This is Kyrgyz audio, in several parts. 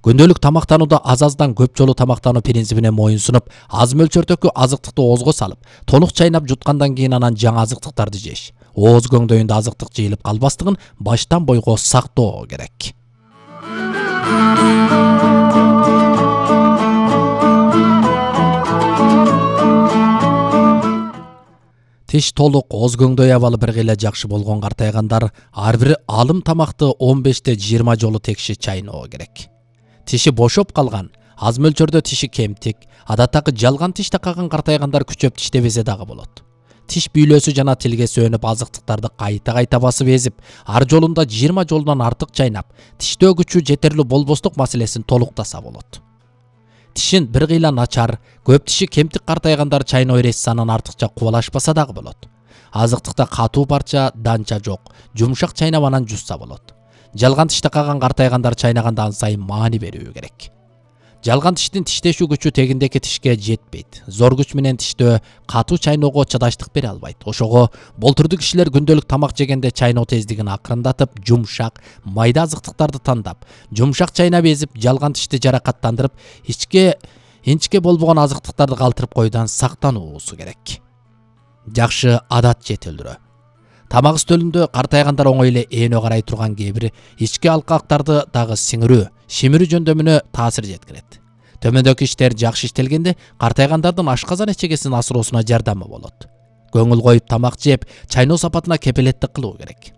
Күндөлүк тамактанууда аз-аздан көп жолу тамактануу принцибине моюн сунуп, аз мөлчөрдөгү азыктыкты оозго салып, толук чайнап жуткандан кийин анан жаңы азыктыктарды жеш. Ооз көңдөйүндө азыктык жыйылып калбастыгын баштан бойго сактоо керек. Тиш толук, ооз көңдөй абалы бир кыйла жакшы болгон картайгандар ар бир алым тамакты 15-20 жолу текши чайноо керек. Тиши бошоп калган, аз мөлчөрдө тиши кемтик, адаттагы жалган тиш такаган картайгандар күчөп тиштебесе дагы болот. Тиш бүйлөсү жана тилге сөнүп азыктыктарды кайта басып эзип, ар жолунда 20 жолунан артык чайнап, тиштөө күчү жетерлүү болбостук маселесин толуктаса болот. Тишин бир кыйла начар, көп тиши кемтик картайгандар чайноо эресанан артыкча кубалашпаса дагы болот. Азыктыкта катуу парча, данча жок, жумшак чайнап анан жусса болот. Жалган тиш такаган картайгандар чайнаганда ан сайын маани берүү керек. Жалган тиштин тиштешүү күчү тегиндеки тишке жетпейт. Зор күч менен тиштөө катуу чайноого чыдаштык бере албайт. Ошого болтурду кишилер күндөлүк тамак жегенде чайноо тездигин акырындатып, жумшак, майда азыктыктарды тандап, жумшак чайнап эзип, жалган тишти жаракаттандырып, инчке болбогон азыктыктарды калтырып коюудан сактануусу керек. Жакшы адат жетилдирөө. Тамак стөлүндө картайгандар оңой эле эөнө карай турган кээ бир ички алкактарды дагы сиңирүү, шимирүү жөндөмүнө таасир жеткирет. Төмөндөгү иштер жакшы иштелгенде картайгандардын ашказан эчегесин асыроосуна жардамы болот. Көңүл коюп тамак жеп, чайноо сапатына кепилеттик кылуу керек.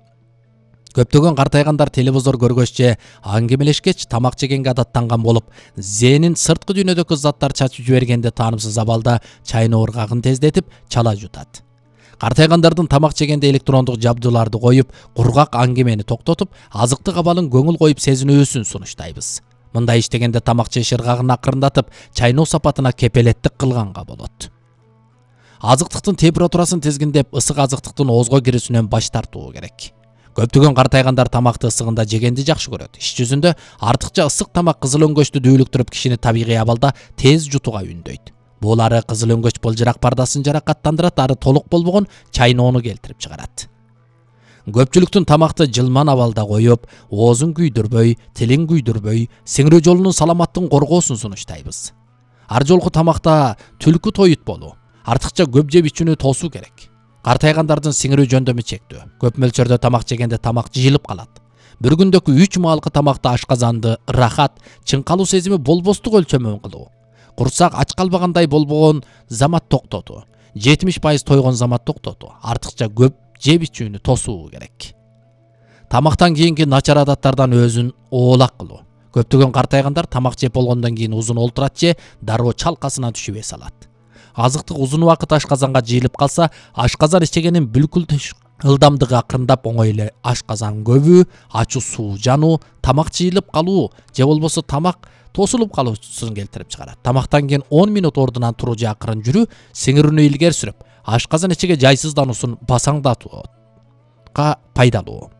Көптөгөн картайгандар телевизор көргөччө, аңгемелешкеч тамак жегенге адаттанган болуп, зээнин сырткы дүйнөдөгү заттар чачып жибергенде таанымсыз абалда чайноо ыргагын тездетип, чала жутат. Картайгандардын тамак жегенде электрондук жабдууларды коюп, кургак аңгемени токтотуп, азыктык абалын көңүл коюп сезинүүсүн сунуштайбыз. Мындай иштегенде тамак жеш ыргагын акырындатып, чайноо сапатына кепилеттик кылганга болот. Азыктыктын температурасын тизгиндеп, ысык азыктыктын оозго кирүүсүнөн баш тартуу керек. Көптөгөн картайгандар тамакты ысыгында жегенди жакшы көрөт. Иш жүзүндө артыкча ысык тамак кызыл өңгөчтү дүүлүктүрүп, кишини табигый абалда тез жутууга үндөйт. Бул ары кызыл өңгөч былжырак пардасын жаракаттандырат, ары толук болбогон чайноону келтирип чыгарат. Көпчүлүктүн тамакты жылман абалда коюп, оозун күйдүрбөй, тилин күйдүрбөй, сиңирүү жолунун саламаттыгын коргоосун сунуштайбыз. Ар жолку тамакта түлкү тоют болуу, артыкча көп жеп ичүүнү тосуу керек. Картайгандардын сиңирүү жөндөмү чектөө. Көп мөлчөрдө тамак жегенде тамак жыйылып калат. Bir күндөгү 3 маалкы тамакта ашказанды рахат, чыңкалуу сезими болбостук өлчөмөн кылуу. Курсак ач калбагандай болбогон замат токтотуу. 70% тойгон замат токтотуу. Артыкча көп жеп ичүүнү тосуу керек. Тамактан кийинки начар адаттардан өзүн оолак кылуу. Көптөгөн картайгандар тамак жеп болгондон кийин узун олтурат же дароо чалкасына түшүп эс алат. Азыктык узун убакыт ашказанга жыйылып калса, ашказан ичегенин бүлкүл ылдамдыгы акырындап оңой эле ашказан көбүү, ачуу суу жануу, тамак жыйылып калуу же болбосо тамак тосулуп калуусун келтирип чыгарат. Тамактан кийин 10 минут ордунан туруу же акырын жүрүү сиңирүүнү илгери сүрүп, ашказан ичеге жайсыздануусун басаңдатууга пайдалуу.